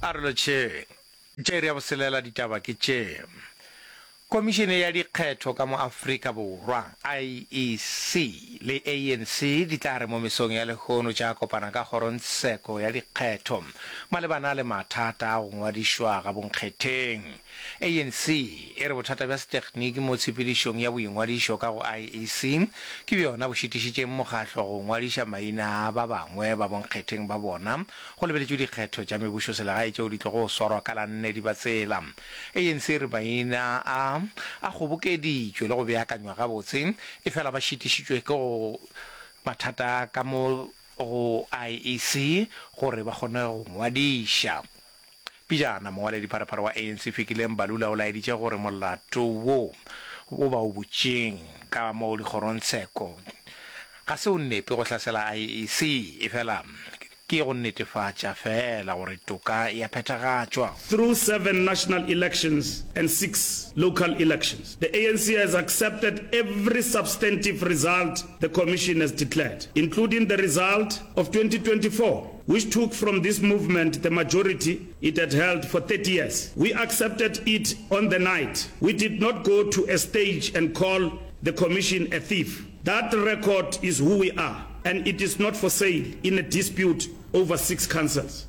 A re lotšheng. Tša iri ya boselela ditaba ke tše. Komišene ya Dikgetho ka mo Afrika Borwa, IEC, le ANC di tla re mo mesong ya lehono tša kopana ka kgorongtsheko ya dikgetho malebana le mathata a go ngwadišwa ga bonkgetheng. ANC e re bothata bja setegniki mo tshepedišong ya boingwadišo ka go IEC ke bjona bo šitišitšeng mokgahlo go ngwadiša maina a ba bangwe ba bonkgetheng ba bona go lebeletšwe dikgetho tša mebušoselegae tšeo di tlogo swarwa ka la nne Dibatsela. ANC e re maina a a kgobokeditšwe le go beakanywa gabotse, efela ba šitišitšwe ke go mathata ka mo go IEC gore ba kgone go ngwadiša. Pejana, mongwaledipharephare wa ANC Fikile Mbalula o laeditše gore molato wo wo ba o butšeng ka mo dikgorongtsheko ga se o nepe go hlasela IEC, efela Ke go netefatša feela gore toka e a phethagatšwa. Through seven national elections and six local elections, the ANC has accepted every substantive result the Commission has declared, including the result of 2024, which took from this movement the majority it had held for 30 years. We accepted it on the night. We did not go to a stage and call the Commission a thief. That record is who we are and it is not for sale in a dispute over six councils.